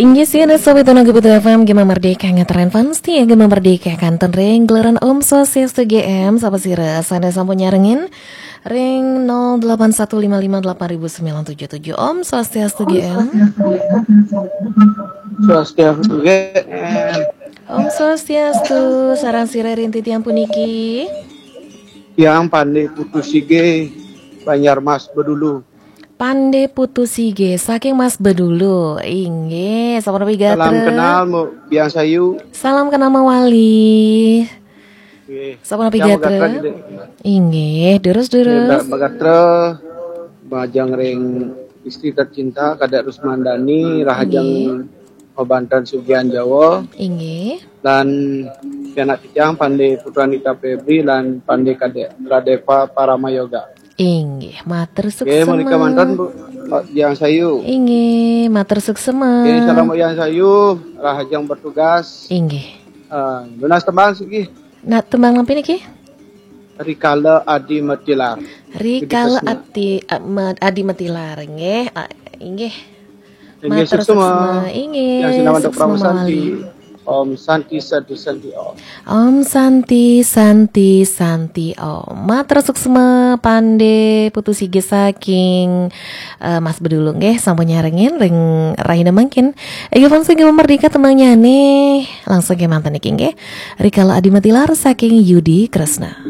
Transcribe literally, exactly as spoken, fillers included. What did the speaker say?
Inggih sira, sobat Tuna Gubit F M, Gema Merdeka, ngatren fans setia Gema Merdeka, kanten ring gelaran. Om Swastiastu G M, sapa sira sane sampun nyarengin ring nol delapan satu lima lima delapan ribu sembilan tujuh tujuh. Om Swastiastu G M. Swastiastu G M. Om Swastiastu, sareng sira ring titiang puniki. Yang Pande Putu Sige, Banjar Mas Bedulu. Pande Putu Sige, saking Mas Bedulu. Inggih, sapunapi gatra? Salam kenal, Mbok Biang Sayu. Salam kenal mawali. Nggih. Sapunapi Yang gatra? Mbok Gatra, Gede. Inggih, durus-durus. Mbok Gatra, majeng ring istri tercinta, Kadek Rusmandani, rahajeng Nggih. Mabanten Sugihan Jawa, Inggih. dan pianak titiang Pande Putu Anita Febri, dan Pande Kadek Radepa Paramayoga. Inggih, matur Nggih, mrika suksema. manten, Bu, Mbok Biang Sayu. Inggih, matur suksema. Nggih, salam Mbok Biang Sayu, rahajeng bertugas. Inggih. Eh, nunas tembang siki. Nah, tembang napi niki? Rikala Adi Matilar. Rikala Adi Kresna. Ati, eh, Ma-, Adi Matilar, nggih. Ah, inggih. Inggih, Matur suksema. suksema, inggih, Yang sinambi suksema Parama Santi. mawali. Om Santi, Santi, Santi, Om. Om Santi, Santi, Santi, Om. Matur suksema Pande Putu Sige saking, eh, Mas Bedulu nggih, sampun nyarengin ring rahina mangkin. Inggih, fans Gema Merdeka, tembangnyané langsung kemanten niki nggih. Rikala Adi Matilar saking Yudi Kresna.